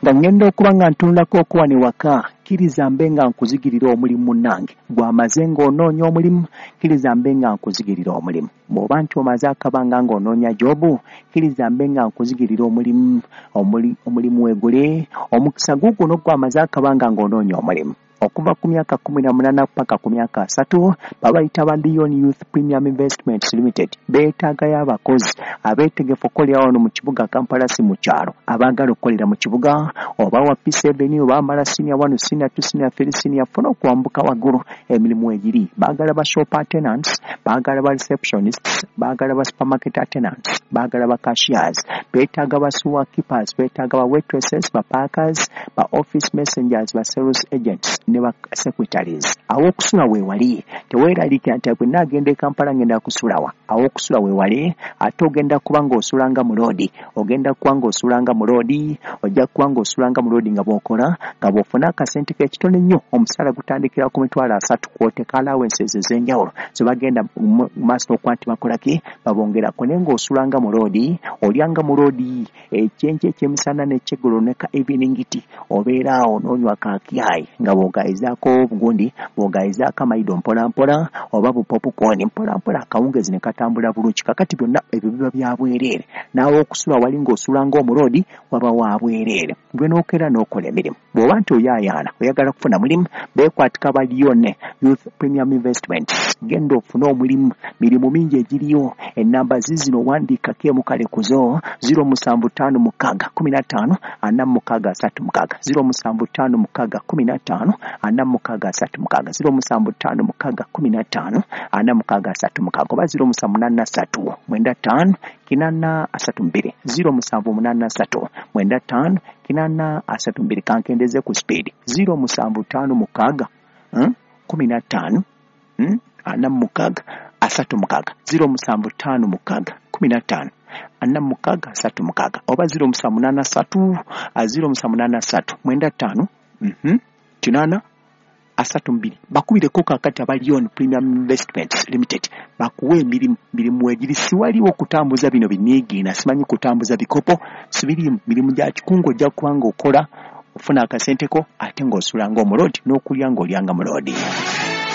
Nga ngenda okuba nga ntunulako okuwa ne waka, kkiriza mbe nga nkuzigirira omulimu munnange. Gw'amaze ng'onoonya omulimu, kkiriza mbe nga nkuzigirira omulimu. Bw'oba nti omaze akabanga ng'onoonya jobu, kkiriza mbe nga nkuzigirira omulimu. Omulimu weegule, omukisa guuguno gw'amaze akabanga ng'onoonya omulimu. Okuva ku myaka 18 paka ku myaka 30, babayita ba Leon Youth Premium Investments Limited. Beetaagayo abakozi abeetegefu okukolera wano mu kibuga Kampala, si mu kyalo. Abaagala okukolera mu kibuga, oba wa P7, oba amala senior 1, senior 2, senior 3, senior 4, okwambuka waggulu, emirimu egiri. Baagala ba shop attendants, baagala ba receptionists, baagala ba supermarket attendants, baagala ba cashiers, beetaaga ba sewer keepers, beetaaga ba waitresses, ba packers, ba office messengers, ba sales agents ne ba secretaries. Aw'okusula weewali, teweeraliikira nti bwe nnaagenda e Kampala ngenda kusulawa. Aw'okusula weewali, ate ogenda kuba ng'osulanga mu loodi, ogenda kuba ng'osulanga mu loodi, ojja kuba ng'osulanga mu loodi nga bw'okola, nga bw'ofuna akasente k'ekitono ennyo. Omusaala gutandikira ku 300,000 kw'oteeka allowances ez'enjawulo ze bagenda mu maaso n'okuba nti bakola ki, babongerako. Naye ng'osulanga mu loodi, olyanga mu loodi ekyenkya, ekyemisana n'ekyeggulo ne ka evening tea, obeera awo n'onywa kakyayi nga bw'ogayizaako obugundi, bw'ogayizaako amayido mpola mpola oba bupopcorn mpola mpola, akawungezi ne katambula bulungi. Kakati byonna ebyo biba bya bwereere. Naawe okusula wali ng'osula ng'omuloodi waba wa bwereere. Gwe n'okeera n'okola emirimu. Bw'oba nti oyaayaana oyagala kufuna mulimu, beekwatika ba Leon Youth Premium Investments, genda ofune omulimu. Mirimu mingi egiriyo. Ennamba ziizino, wandiikako emu kale kuzo: 0756 15 46 36, 0756 15 46 36, 0756 15 46 36, oba 0783 95 80 32, 0783 95 80 32. Kankendeze ku speed: 0756 15 46 36, 0756 15 46 36, oba 0783, 0783 95 80 32. Bakubireko kakati aba Leon Premium Investments Limited bakuwa emirimu. Mirimu egiri, siwaliwo okutambuza bino biniigiina, simanyi kutambuza bikopo, sibirimu. Mirimu gya kikungu, ojja kuba ng'okola ofuna akasenteko ate ng'osula ng'omuloodi n'okulya ng'olyanga muloodi.